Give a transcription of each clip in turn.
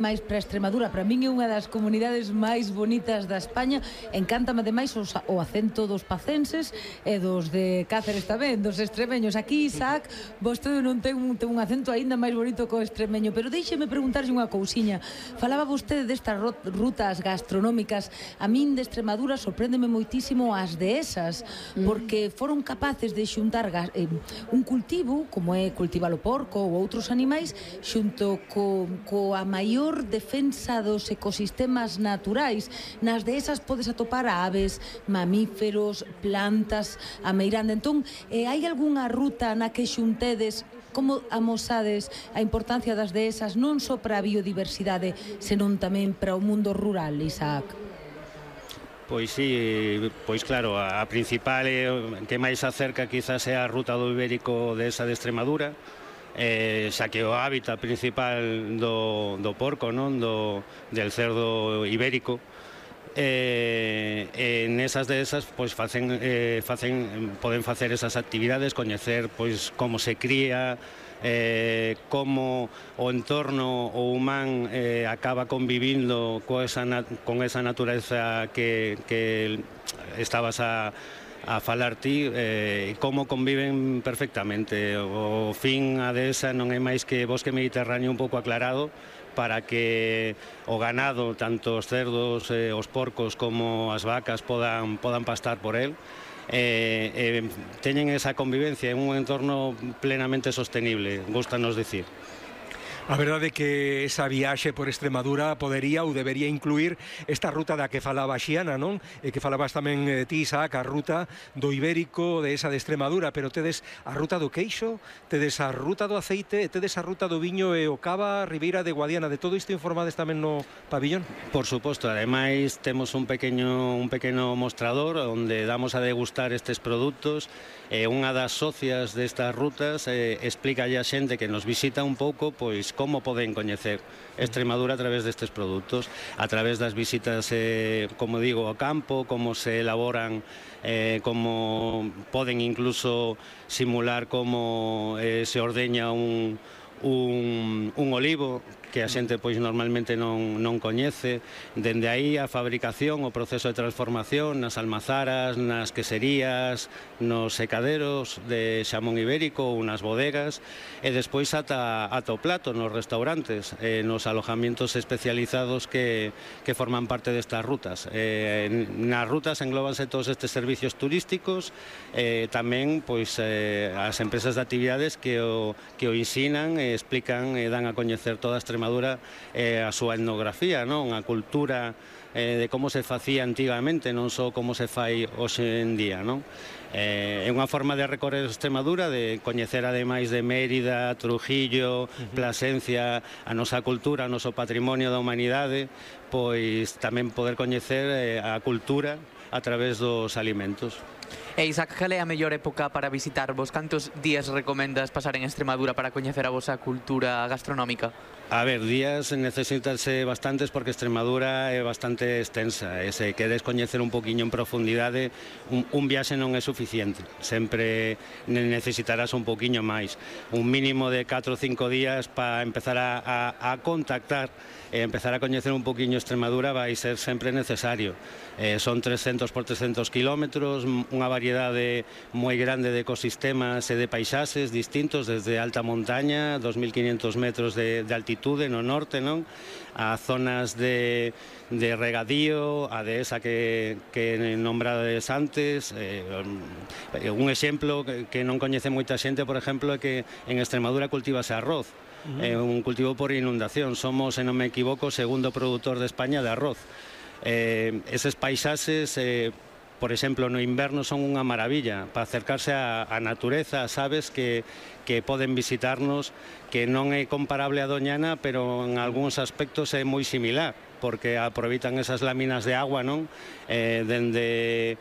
máis para Extremadura. Para min é unha das comunidades máis bonitas da España. Encántame ademais o acento dos pacenses e dos de Cáceres tamén, dos extremeños. Aquí, Isaac, vostede non ten un acento aínda máis bonito que o extremeño, pero déixeme preguntarlle unha cousiña. Falaba vostede destas rutas gastronómicas. A min de Extremadura sorpréndeme moitísimo as dehesas, porque foron capaces de xuntar un cultivo, como é cultivar o porco ou outros animais, xunto coa maior defensa dos ecosistemas naturais. Nas dehesas podes atopar aves, mamíferos, plantas, a meirande. Entón, hai algunha ruta na que xuntedes, como amosades a importancia das dehesas non só para a biodiversidade, senón tamén para o mundo rural, Isaac? Pois sí, pois claro, a principal que máis acerca quizás é a ruta do Ibérico desa de Extremadura, xa que o hábitat principal do porco, non, del cerdo ibérico, nesas dehesas pois poden facer esas actividades, coñecer pois como se cría, como o entorno o humán acaba convivindo con esa natureza que estabas a falar ti, como conviven perfectamente. O fin a dehesa non é máis que bosque mediterráneo un pouco aclarado para que o ganado, tanto os cerdos, os porcos como as vacas podan pastar por el. Teñen esa convivencia en un entorno plenamente sostenible, gustanos dicir. A verdade é que esa viaxe por Extremadura podería ou debería incluir esta ruta da que falaba Xiana, non? E que falabas tamén ti, Isaac, a ruta do Ibérico de esa de Extremadura, pero tedes a ruta do queixo, tedes a ruta do aceite, e tedes a ruta do viño e o cava, Ribeira de Guadiana. De todo isto informades tamén no pabillón? Por suposto, ademais temos un pequeno mostrador onde damos a degustar estes produtos. Unha das socias destas rutas explica a xente que nos visita un pouco pois como poden coñecer Extremadura a través destes produtos, a través das visitas, como digo, ao campo, como se elaboran, como poden incluso simular como se ordeña un olivo que a xente pois normalmente non coñece. Dende aí a fabricación, o proceso de transformación nas almazaras, nas queserías, nos secaderos de xamón ibérico ou nas bodegas, e despois ata o plato nos restaurantes, nos alojamientos especializados que forman parte destas rutas. Nas rutas englóbanse todos estes servicios turísticos, tamén pois as empresas de actividades que o ensinan, explican e dan a coñecer toda a Extremadura, a súa etnografía, non? A cultura de como se facía antigamente, non só como se fai hoxe en día, non? É unha forma de recorrer Extremadura, de coñecer ademais de Mérida, Trujillo, Plasencia, a nosa cultura, o noso patrimonio da humanidade, pois tamén poder coñecer a cultura a través dos alimentos. E Isaac, cal é a mellor época para visitarvos? Cantos días recomendas pasar en Extremadura para coñecer a vosa cultura gastronómica? A ver, días necesitanse bastantes porque Extremadura é bastante extensa e se queres coñecer un poquinho en profundidade, un viaxe non é suficiente, sempre necesitarás un poquinho máis, un mínimo de 4 ou 5 días para empezar a contactar e empezar a coñecer un poquinho Extremadura vai ser sempre necesario. Son 300 por 300 kilómetros, unha variedade moi grande de ecosistemas e de paisaxes distintos, desde alta montaña, 2500 metros de altitude no norte, non? A zonas de regadío, a dehesa que nombrades antes. Un exemplo que non coñece moita xente, por exemplo, é que en Extremadura cultivase arroz. É un cultivo por inundación. Somos, se non me equivoco, o segundo produtor de España de arroz. Eses paisaxes, por exemplo, no inverno son unha maravilla para acercarse á natureza, as aves que poden visitarnos, que non é comparable a Doñana, pero en algúns aspectos é moi similar, porque aproveitan esas láminas de agua, non? Dende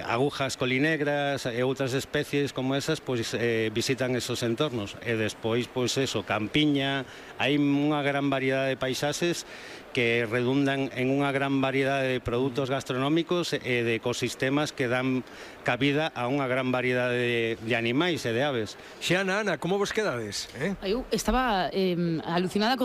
agujas colinegras e outras especies como esas, pois visitan esos entornos. E despois, pois eso, campiña, hai unha gran variedade de paisaxes que redundan en unha gran variedade de produtos gastronómicos e de ecosistemas que dan cabida a unha gran variedade de animales animais e de aves. Xiana, Ana, como vos quedades? Eu estaba alucinada co